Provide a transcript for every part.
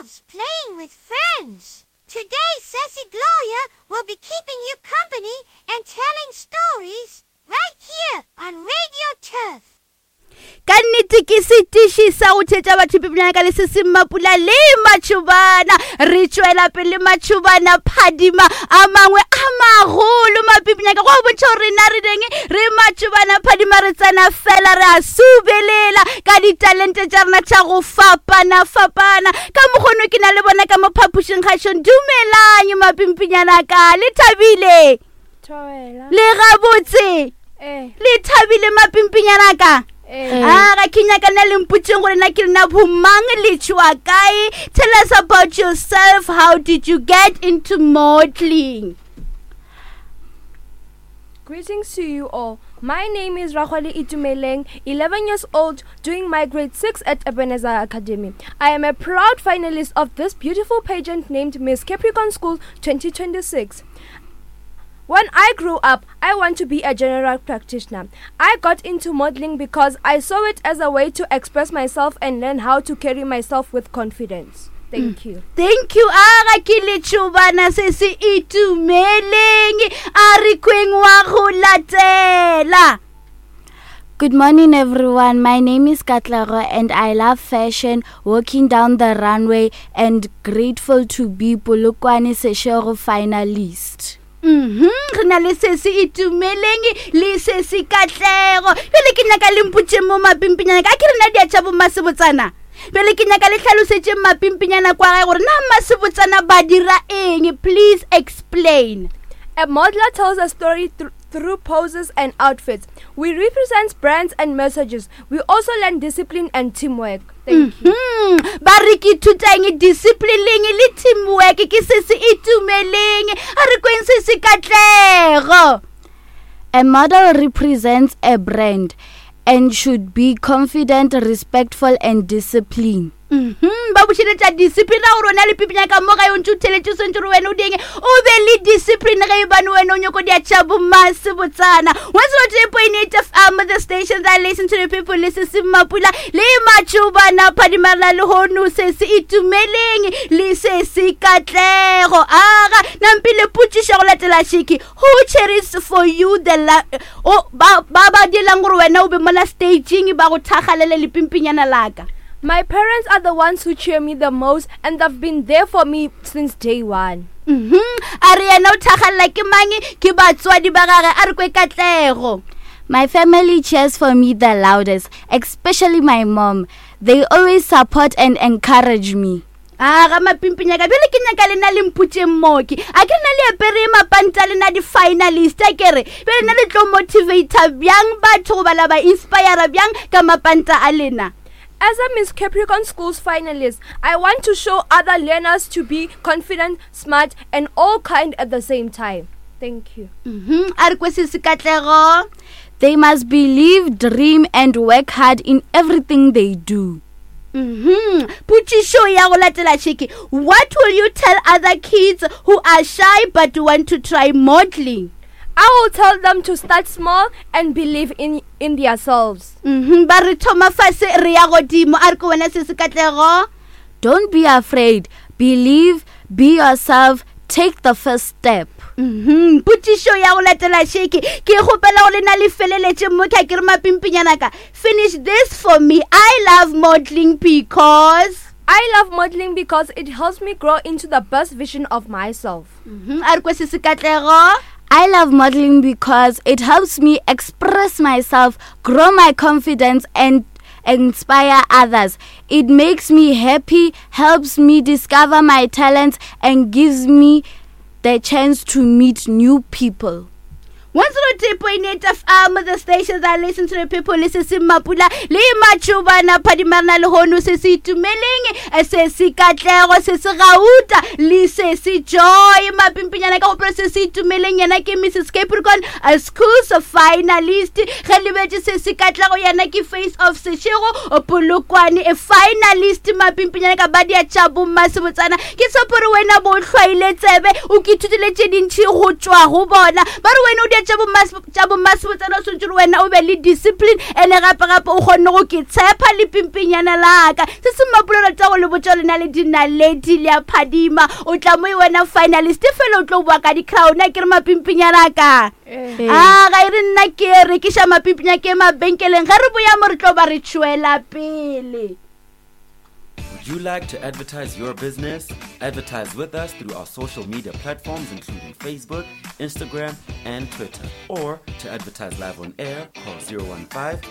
loves playing with friends. Today, Sassy Gloria will be keeping you company and telling stories right here on Radio Turf. Ka nnete ke setiši sa go thetša batho pipinana ka le se se mapula le matšhobana. Re tšwela pele matšhobana phadima a mangwe a magolo mapipinyaka go a bontšha gore rena re deng re matšhobana phadima re tsena fela re a subelela ka ditalente tša rena tša go fapana fapana. Ka mokgono ke na le bona ka mo phapošing kgašong. Dumelang mapimpinyana ka le thabile? Le gabotse? Le thabile mapimpinyana ka? A ga ke nyaka na le mpotseng gore na ke lena bomang le tšwa kae. Tell us about yourself. How did you get into modeling? Greetings to you all. My name is Rahwali Itumeleng, 11 years old, doing my grade 6 at Ebenezer Academy. I am a proud finalist of this beautiful pageant named Miss Capricorn School 2026. When I grew up, I want to be a general practitioner. I got into modeling because I saw it as a way to express myself and learn how to carry myself with confidence. Thank you. Thank you. A ga ke letšobana se se itumeleng a re kweng wa go latela. Good morning, everyone. My name is Katlego and I love fashion, walking down the runway, and grateful to be Polokwane Seshego finalist. Mhm, re na le se se itumeleng le se se katlego. Bjale ke nyaka le mpotšeng mo mapimpinyana ka ke rena dia tša bomasebotsana. Bjale ke nyaka le hlalosetšeng mapimpinyana kwa gae gore na masebotsana ba dira eng. Please explain. A modeler tells a story through poses and outfits. We represent brands and messages. We also learn discipline and teamwork. Thank you. Ba re ke ithutang disciplineng le teamwork ke se se itumeleng. A re kweng se se katlego. A model represents a brand and should be confident, respectful and disciplined. Mhm, ba bušeletša discipline ra gore wena le pipinya ka mo gae o ntse o theletše o swantse gore wena o dieng o be le discipline ge e bane wena o nyoko dia tša bomase botsana. 103.8 FM, the station that listen to the people. Le se se mapula le matšobana phadimarela le hono se se itumeleng le se se katlego. Aga nampile potšišo go latela šiki. Who cheers for you the la o ba ba ba dielang gore wena o be mola staging ba go thagalele lepimpinyana laka? My parents are the ones who cheer me the most and they've been there for me since day one. Mhm. A re yena o thagalela ke mang? Ke batswadi ba gage. A re kwe katlego. My family cheers for me the loudest, especially my mom. They always support and encourage me. A ga mapimpinyaka bjale ke nyaka lena le mpotšeng mooki. A ke rena le apere mapanta lena di-finalist a ke re bjale na le tlo motivata bjang batho goba la ba inspira bjang ka mapanta a lena? As a Miss Capricorn Schools finalist, I want to show other learners to be confident, smart, and all kind at the same time. Thank you. Mhm, a re kwe se se katlego. They must believe, dream, and work hard in everything they do. Mhm. Potšišo ya go latela šeke. What will you tell other kids who are shy but want to try modeling? I will tell them to start small and believe in themselves. Mhm, ba re thoma fase re ya godimo. A re ko wena se se katlego. Don't be afraid. Believe, be yourself, take the first step. Mhm, potšišo ya go latela šeke. Ke kgopela go lena le feleletše mo ke a ke re mapimpinyana ka. Finish this for me. I love modeling because I love modeling because it helps me grow into the best version of myself. Mhm, a re kwe se se katlego. I love modeling because it helps me express myself, grow my confidence, and inspire others. It makes me happy, helps me discover my talents, and gives me the chance to meet new people. 103.8 FM, the station that listen to the people. Le se se mapula le matšobana phadimarena le hono se se itumeleng, se se katlego, se se gauta le se se joy mapimpinyana ka gopolo se se itumeleng. Yena ke Mrs Capricorn Schools finalist. Ge lebetše se se katlego, yena ke Face of Seshego Polokwane a finalist. Mapimpinyana ka ba dia tša bommasebotsana. Ke tshepo gore wena bo hlwaile tsebe o ke ithutile tše dintši go tšwa go bona. Ba re wena o dia tša bomasebotsana o swantse gore wena o be le discipline ene gape gape o kgonne go ke tshepa le pimpinyana laka se se mmapolelo tsa go le botša lena le dinaledi le a phadima o tla mo e wena finalist fela o tlo boa ka di-crown a ke re mapimpinyana ka a ga e re nna ke rekiša mapimpinya ke mabenkeleng ge re boya mo re tlo ba re tšwela pele. Would you like to advertise your business? Advertise with us through our social media platforms, including Facebook, Instagram, and Twitter. Or to advertise live on air, call 015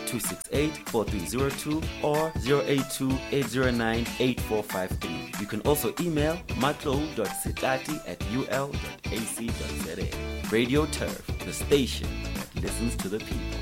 268 4302 or 082 809 8453. You can also email matlo.sitati at ul.ac.za. Radio Turf, the station that listens to the people.